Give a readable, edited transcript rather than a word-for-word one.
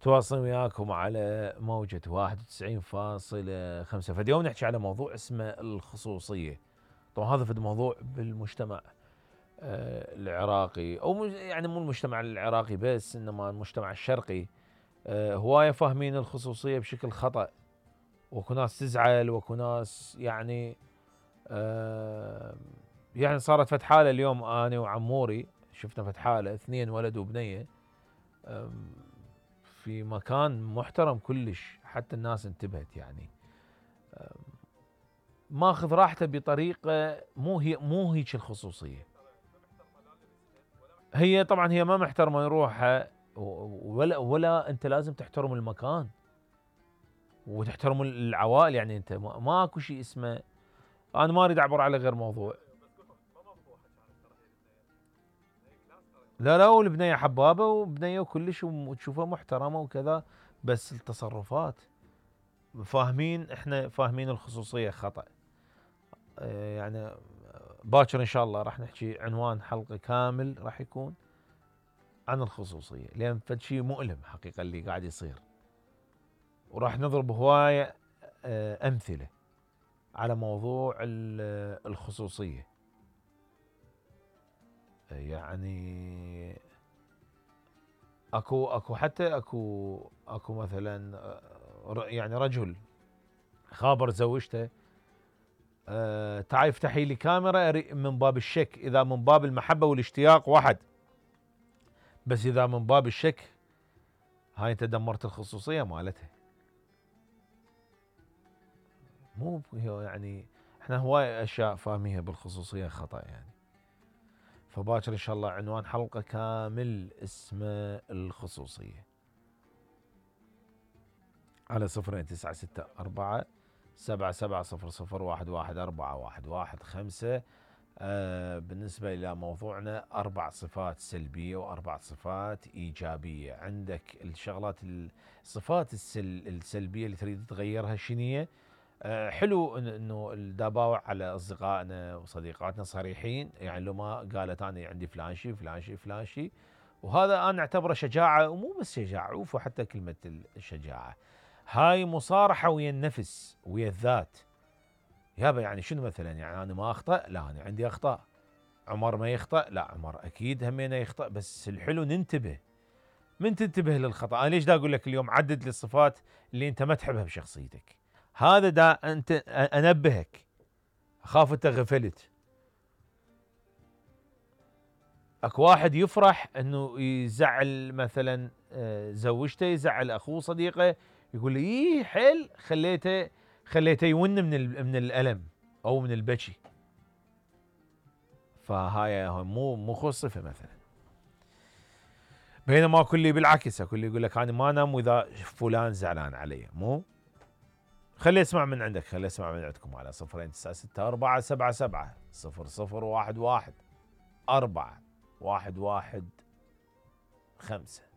تواصل وياكم على موجة 91.5. فاليوم نحكي على موضوع اسمه الخصوصية. طبعا هذا فد موضوع بالمجتمع العراقي، او يعني مو المجتمع العراقي بس، انما المجتمع الشرقي هواية فاهمين الخصوصية بشكل خطأ. واكو ناس تزعل، واكو ناس يعني يعني صارت فد حالة اليوم انا وعموري شفنا فد حالة 2 ولد وبنية في مكان محترم كلش، حتى الناس انتبهت يعني ماخذ راحته بطريقة مو هيك الخصوصية. هي طبعا هي ما محترمة روحها، ولا انت لازم تحترم المكان وتحترم العوائل. يعني انت ماكو شيء اسمه، انا ما اريد اعبر على غير موضوع. لا والبنية حبابة وبنية وكلش وتشوفها محترمة وكذا، بس التصرفات احنا فاهمين الخصوصية خطأ. يعني باكر ان شاء الله راح نحكي عنوان حلقة كامل راح يكون عن الخصوصية، لان فد شيء مؤلم حقيقة اللي قاعد يصير، وراح نضرب هواية امثلة على موضوع الخصوصية. يعني اكو حتى اكو مثلا يعني رجل خابر زوجته تعال افتحي لي كاميرا من باب الشك، اذا من باب المحبة والاشتياق واحد، بس اذا من باب الشك هاي انت دمرت الخصوصية مالتها. مو يعني احنا هواي اشياء فاهميها بالخصوصية خطأ يعني. فباكر ان شاء الله عنوان حلقة كامل اسمه الخصوصية على 0964 7700 11415. بالنسبة إلى موضوعنا 4 صفات سلبية و4 صفات إيجابية. عندك الشغلات الصفات السلبية اللي تريد تغيرها شنية؟ حلو انه الدباوع على اصدقائنا وصديقاتنا صريحين، يعني لو ما قالت انا عندي فلان شيء فلان شيء فلان شيء، وهذا انا اعتبره شجاعة، ومو بس شجاعة، عوفوا حتى كلمة الشجاعة هاي مصارحة ويا النفس ويا الذات. يابا يعني شنو مثلا؟ يعني انا ما اخطأ؟ لا انا عندي اخطاء. عمر ما يخطأ؟ لا عمر اكيد همينه يخطأ، بس الحلو ننتبه. من تنتبه للخطأ. انا ليش دا اقول لك اليوم عدد للصفات اللي انت ما تحبها بشخصيتك؟ هذا دا انت انبهك، اخاف انت غفلت. اكو واحد يفرح انه يزعل مثلا زوجته، يزعل اخوه صديقه، يقول لي ايه حيل خليته يون من الالم او من البكي. فهاي مو خو صفه مثلا. بينما كل بالعكس، كل يقول لك انا ما انام واذا فلان زعلان علي. مو خلي اسمع من عندك، خلي اسمع من عندكم على 0964 77 0011 4 115.